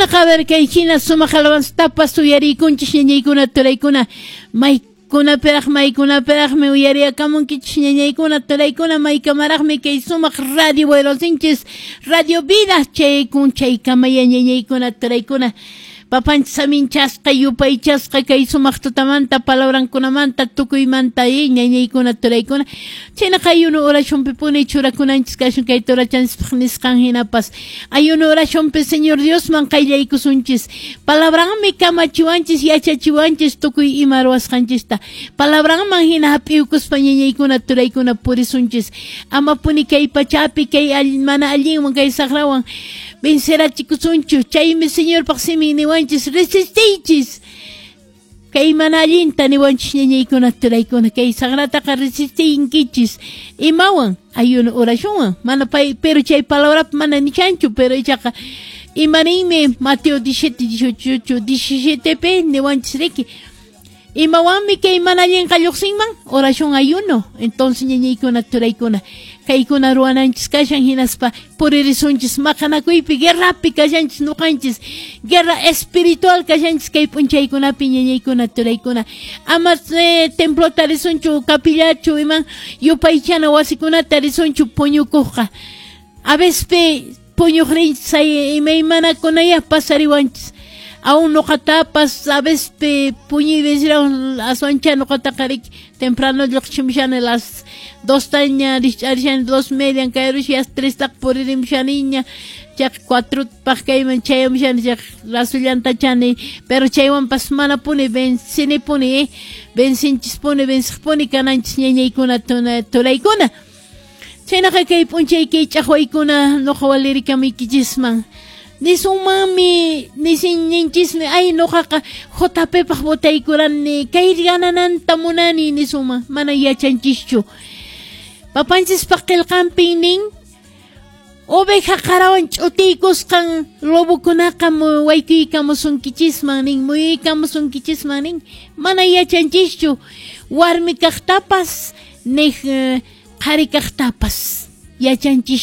Chaynaqa a ver kay hina sumaq alabanzatapas uyariykunchis ñañaykuna turaykuna, maykunapiraq maykunapiraqmi uyariyakamunkichis ñañaykuna turaykuna, maykamaraqmi kay sumaq radio wayrosinchis Radio Vida chaykun chaykamaya ñañaykuna turaykuna. Papanchis saminchasqa yupaychasqa kay sumaq tutamanta palabrankunamanta tukuymanta ñañaykuna turaykuna. Chaynaqa ayuno oracionpipuni churakunanchis kashun kay turachanchispaq nisqan hinapas. Ayuno oracionpi Señor Diosman qayllaykusunchis. Palabranmi kamachiwanchis yachachiwanchis tukuy ima ruwasqanchista. Palabranman hina hap'iykuspa ñañaykuna turaykuna purisunchis. Amapuni kay pachapi kay mana allinwan kay saqrawan vencerachikusunchu. Chaymi Señorpaq simin niwanchis resistiychis. Kay mana allinta niwanchis ñañaykuna turaykuna kay saqrataqa resistinkichis. Imawan ayuno oracionwan mana pay pero chay palabrapi mana nichanchu pero ichaqa imaninmi Mateo 17 18 17 pi niwanchis riki. Imawanmi kay mana allinqa lluqsinman oración ayuno. Entonces ñañaykuna turaykuna kaykuna ruwananchis kashan hinaspa puririsunchis maqanakuypi guerrapi kashanchis nuqanchis guerra espiritual kashanchis kay p'unchaykunapi ñañaykuna turaykuna. Ama templota risunchu capillachu iman yupaychana wasikunata risunchu puñukuqqa. A veces puñuqrinchis imaymanakunaya pasariwanchis. Aún nuqatapas a veces puñuy vencirawan aswancha nuqataqa riki temprano lluqchimushani las 2 taña rikch'arishani 2:30 kayrush las 3 taq puririmushaniña chaq 4 paq kayman chayamushani chaq rasullantachani pero chaywanpas manapuni vencinipuni vencinchispuni venciqpuni kananchis ñañaykuna turaykuna. Chaynaqa kay p'unchay kay ch'aqwaykuna nuqa walirikamuykichisman. Nisunmanmi nisin ninchismi ay nuqaqa JP paq votaykurani kay ganananta munani nisunman mana yachanchischu. Papanchispaq qillqanpin nin oveja qarawan ch'utiykusqan lobokunaqa waykuykamusunkichisman nin muyuykamusunkichisman nin mana yachanchischu warmi kaqtapas nik qhari kaqtapas yachanchischu.